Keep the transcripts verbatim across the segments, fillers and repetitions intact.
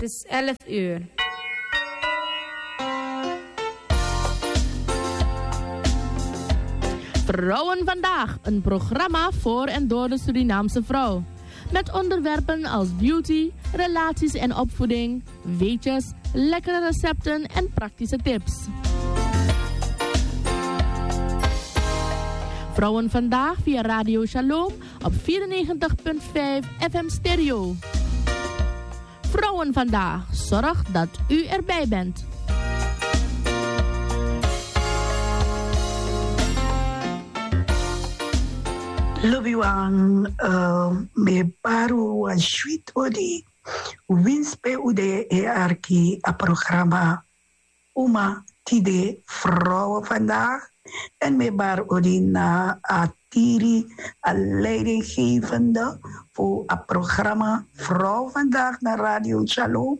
is elf uur. Vrouwen Vandaag, een programma voor en door de Surinaamse vrouw. Met onderwerpen als beauty, relaties en opvoeding, weetjes, lekkere recepten en praktische tips. Vrouwen Vandaag via Radio Shalom op vierennegentig punt vijf F M Stereo. Vrouwen Vandaag zorgt dat u erbij bent. Lobiwan, eh, mi e bari un wan switi odi. Winsi pe un de e arki a programa Uma Tide Vrouwen Vandaag. En mi e bari odi na a tiri, a leidinggevende fu a programa Vrouwen Vandaag na Radio Shalom,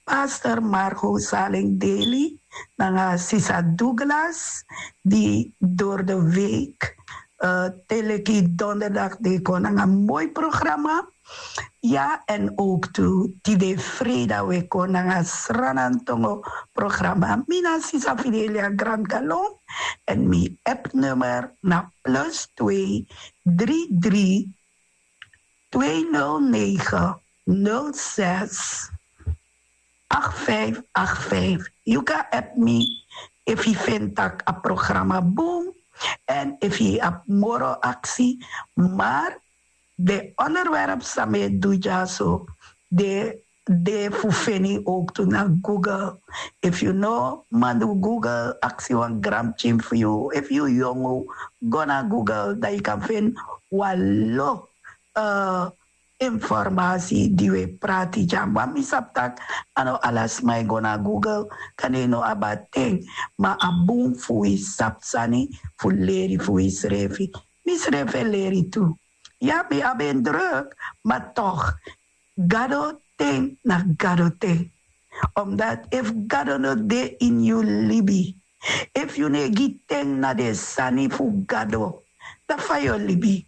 pastor Margot Saleng Daly, nanga sisa Douglas, di door de week, eh, te leki donderdag den kon nanga moi programa. Ya, en ook tu tide freida we kon nanga Sranantongo programa. Mi na sisa Fidelia Grand Galon, en mi app nummer na plus twee drie drie twee nul negen nul zes acht vijf acht vijf. Yu kan app mi efu yu feni tak' a programa bun, en efu yu abi moro aksi, maar den onderwerp san mi e du dyaso, den de fu feni ook tu na Google. Efu yu no man du Google, aksi wan granpikin fu yu, efu yu yongu, go na Google, dan yu kan feni wan lo, eh, informasi di we prati dya. Ma mi sabi tak' a no ala sma e go na Google, kande yu no abi a ten, ma a bun fu wi sabi sani fu leri fu wi srefi. Mi srefi e leri tu. Ya, mi abi en druk, ma toch, Gado ten na Gado ten. Omdat efu Gado no de ini yu libi, efu yu no e gi ten na den sani fu Gado, dan fa yu o libi?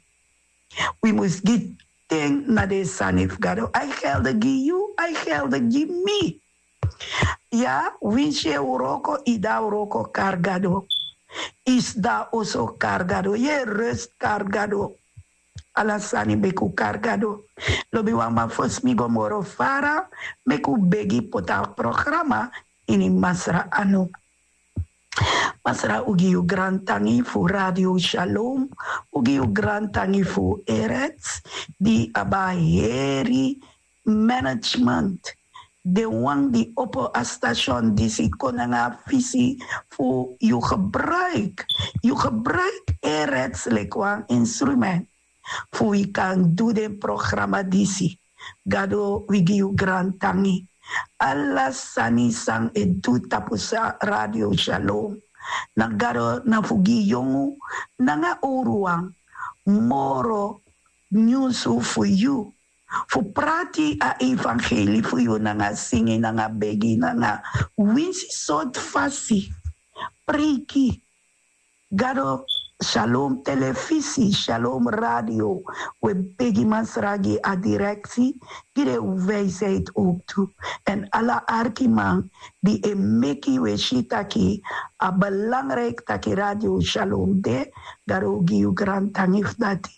Wi mus gi ten na den sani fu Gado. A e gelde gi yu, a e gelde gi mi. Ya, winsi yu e wroko, yu de na wroko, kari Gado. Yu sidon na oso, kari Gado. Yu e rest, kari Gado. Ala sani meki un kari Gado. Lobiwan, ma fosi mi go moro fara, meki un begi poti a programa ini Masra anu. Masra, un gi yu grantangi fu Radio Shalom, un gi yu grantangi fu Erets, di abi a heri management, den wan di opo a station disi kon nanga a visi fu yu gebruik, yu gebruik Erets leki wan instrument fu wi kan du den programa disi. Gado, wi gi yu grantangi. Ala sani san e du tapu Radio Shalom, na Gado, na fu gi yongu nanga owruwan moro nyunsu fu yu, fu prati a evangeli fu yu nanga singi, nanga begi, nanga winsi sortu fasi. Preiki. Gado, Shalom Telefisi, Shalom Radio, we begi Masra gi a direksi, gi den wijsheid ook tu. En ala arkiman di e meki we si taki a belangrijk taki Radio Shalom de, Gado, un gi yu grantangi fu dati.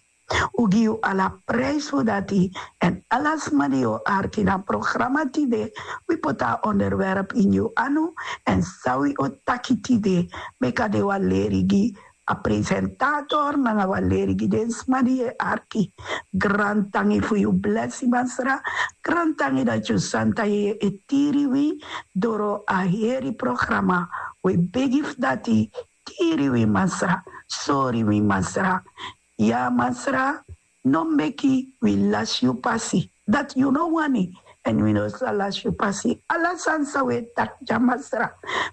Un gi yu ala prijs fu dati. En ala sma di o arki na programa tide, wi poti a onderwerp ini yu anu. En san wi o taki tide, meki a de wan leri gi a presentator nanga wan leri gi den sma di e arki. Grantangi fu yu blesi, Masra. Grantangi dati yu santa yeye e tiri wi doro a heri programa. We begi fu dati, tiri wi, Masra. Sori wi, Masra. Ya, Masra, no meki wi lasi yu pasi. Dati yu no wani, en wi no sa lasi yu pasi. Ala sani san we taki dya, Masra,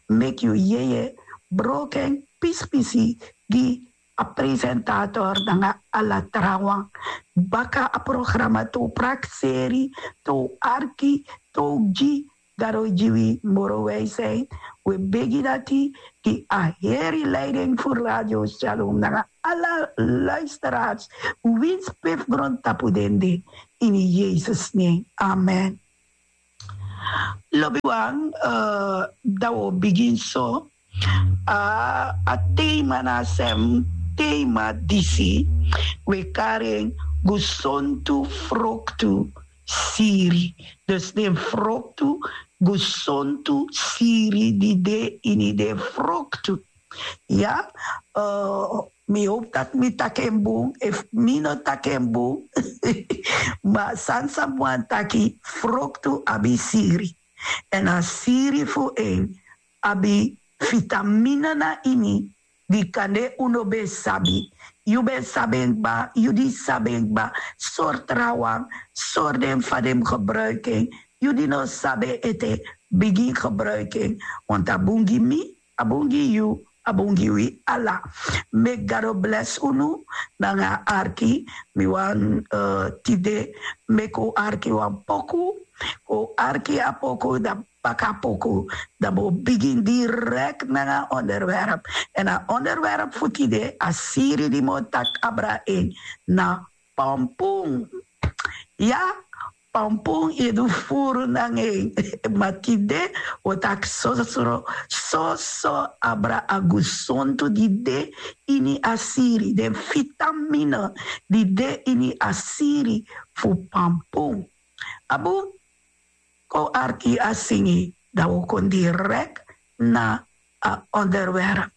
meki yu yeye broko en pispisi gi a presentator nanga ala trawan. Baka a programa, te un prakseri, te un arki, te un gi Gado gi wi moro wijsheid. We begi dati gi a heri leiding fu Radio Shalom nanga ala luisteraars, winsi pe fu grontapu den de, ini Yesus nen. Amen. Lobiwan, dan wi o bigin so. A tema na a sem tema disi wi e kari en gesontu froktu siri. Dus den froktu gesontu siri di de ini den froktu. Ya, mi hopu tak' mi taki en bun. Efu mi no taki en bun, ma sani san mi wani taki, froktu abi siri. Èn a siri fu en abi fitamina na ini di kande un no ben sabi. Yu ben sabi en kba, yu di sabi en kba, sori trawan, sori den fa den mus gebruiki en. Yu di no sabi en ete, bigin gebruiki en. Want a bun gi mi, a bun gi yu, a bun gi wi ala. Meki gado blesi unu nanga a arki. Mi wani tide meki un arki wan poku. Un arki a poku, dan paka poku, dan bo bigin direkt nanga onderwerp. Èn a onderwerp fu tide, a siri di mi o taki abra en, na pampun. Ya, pampun yu e du furu nanga en. Ma tide wi o taki sosro, soso abra a gesontu di de ini a siri, den fitamina di de ini a siri fu pampun. Abu, kon arki a singi, dan wi o kon direkt na a onderwerp.